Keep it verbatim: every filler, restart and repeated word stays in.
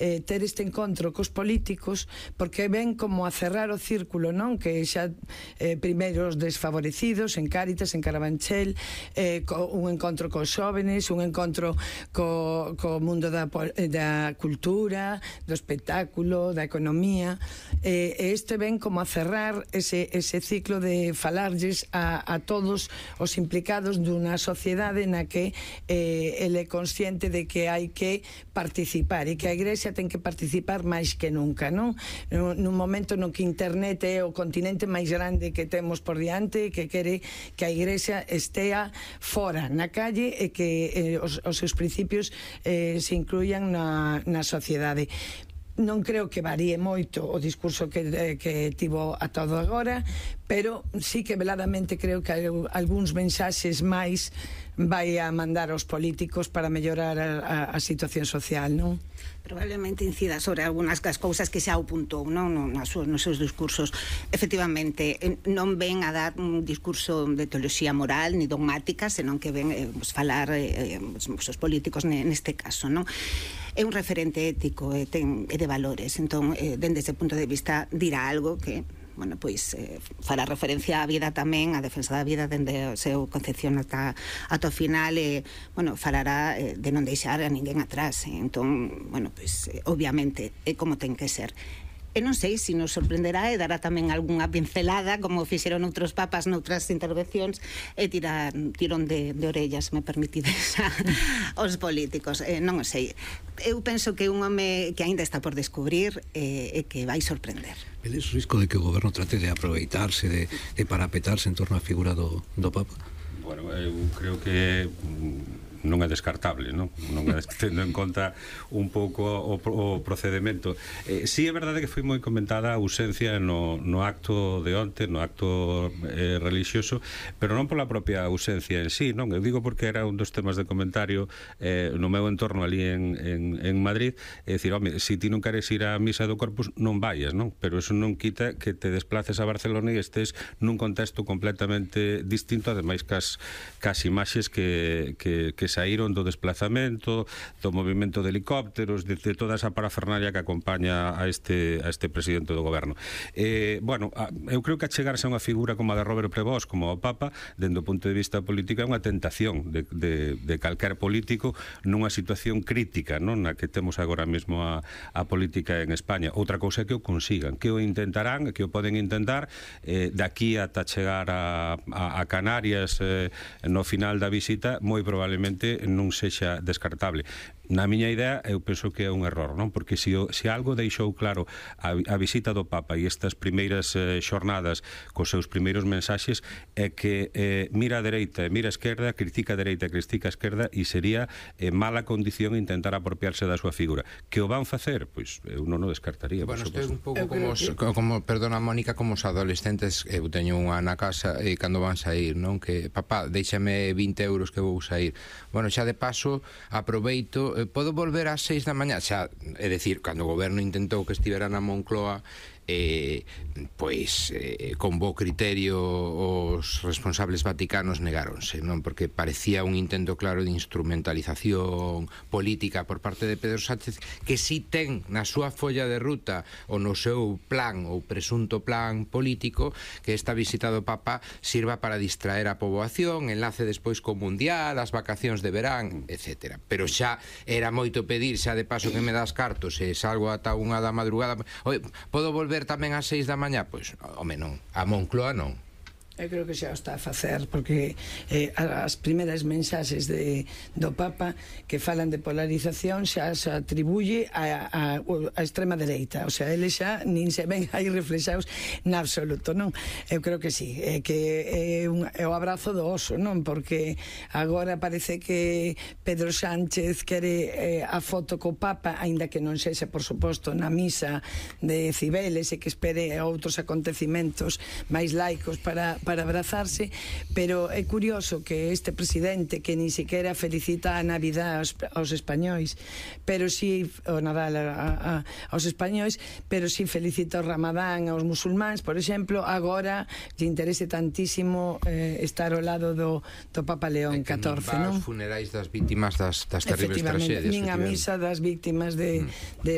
eh, ter este encontro cos políticos, porque ven como a cerrar o círculo, non? Que xa eh, primeiro os desfavorecidos en Cáritas, en Carabanchel, eh, co, un encontro cos xóvenes, un encontro co, co mundo da, da cultura, do espectáculo, da economía, eh, e este ven como a cerrar ese, ese ciclo de falarlles a, a todos os implicados dunha sociedade na que eh, ele é consciente de que hai que participar e que a Igrexa ten que participar máis que nunca, non? Nun momento no que internet é o continente máis grande que temos por diante, que quere que a Igrexa estea fora, na calle, e que eh, os, os seus principios eh, se incluyan na, na sociedade. Non creo que varíe moito o discurso que, eh, que tivo a todo agora, pero sí que veladamente creo que hai algúns mensaxes máis vai a mandar aos políticos para mellorar a, a, a situación social, non? Probablemente incida sobre algunhas das cousas que xa apuntou, non? Nos, nos seus discursos. Efectivamente, non ven a dar un discurso de teoloxía moral ni dogmática, senón que ven eh, pues, falar eh, os políticos neste caso, non? É un referente ético e, ten, e de valores, entón, eh, dende ese punto de vista dirá algo que bueno, pois eh, fará referencia á vida tamén, á defensa da vida dende o seu concepción ata, ata o final, e, bueno, falará eh, de non deixar a ninguén atrás, eh, entón, bueno, pois, eh, obviamente, é como ten que ser. E non sei se nos sorprenderá e dará tamén algunha pincelada, como fixeron outros papas noutras intervencións, e tirar tirón de, de orellas, me permitides, aos políticos. Eh, non o sei. Eu penso que un home que aínda está por descubrir e eh, que vai sorprender. Vedes o risco de que o goberno trate de aproveitarse, de, de parapetarse en torno á figura do, do Papa? Bueno, eu creo que non é descartable, non? Non é tendo en conta un pouco o, o procedimento. Eh, sí é verdade que foi moi comentada a ausencia no, no acto de onte, no acto eh, religioso, pero non pola propia ausencia en sí, non? Eu digo porque era un dos temas de comentario eh, no meu entorno ali en, en, en Madrid, é dicir, home, se ti non queres ir á misa do Corpus, non vayas, non? Pero eso non quita que te desplaces a Barcelona e estés nun contexto completamente distinto, ademais cas, cas imaxes que, que, que saíron do desplazamento, do movimento de helicópteros, de, de toda esa parafernalia que acompaña a este, a este presidente do goberno. Eh, bueno, a, eu creo que achegarse a unha figura como a de Robert Prevost, como o Papa, dende o punto de vista político, é unha tentación de, de, de calquer político nunha situación crítica, non? Na que temos agora mesmo a, a política en España. Outra cousa é que o consigan, que o intentarán, que o poden intentar eh, daqui ata chegar a, a, a Canarias eh, no final da visita, moi probablemente non sexa descartable. Na miña idea, eu penso que é un error, non? Porque se, o, se algo deixou claro a, a visita do Papa e estas primeiras eh, xornadas cos seus primeiros mensaxes é que eh, mira a dereita e mira a esquerda, critica a dereita e critica a esquerda, e sería eh, mala condición intentar apropiarse da súa figura. Que o van facer? Pois eu non o descartaría. Bueno, isto é un pouco como, os, como, perdona Mónica, como os adolescentes, eu teño unha na casa e cando van sair, non? Que, papá, déixame vinte euros que vou sair. Bueno, xa de paso, aproveito, podo volver ás seis da mañá, xa, é dicir, cando o goberno intentou que estivera na Moncloa, eh, pois eh, con bo criterio os responsables vaticanos negáronse, non? Porque parecía un intento claro de instrumentalización política por parte de Pedro Sánchez, que si ten na súa folla de ruta ou no seu plan ou presunto plan político que esta visita do Papa sirva para distraer a poboación, enlace despois co Mundial, as vacacións de verán, etcétera. Pero xa era moito pedir, xa de paso que me das cartos e salgo ata unha da madrugada. Oi, podo volver tamén ás seis da mañá? Pois, home, non. A Moncloa non. Eu creo que xa o está a facer, porque eh, as primeiras mensaxes de, do Papa que falan de polarización xa se atribuye a, a, a extrema dereita, o sea, eles xa nin se ven aí reflexados na absoluto, non? Eu creo que sí, é que é, un, é o abrazo do oso, non? Porque agora parece que Pedro Sánchez quere eh, a foto co Papa, aínda que non sexa, por suposto, na misa de Cibeles, e que espere outros acontecimentos máis laicos para para abrazarse, pero é curioso que este presidente que ni siquiera felicita a Navidad aos, aos españois, pero si o Nadal a, a, aos españois, pero si felicita o Ramadán aos musulmáns, por exemplo, agora lle interese tantísimo eh, estar ao lado do, do Papa León catorce, non? Os funerais das vítimas das, das terribles tragedias. Nin a misa das vítimas de, mm. de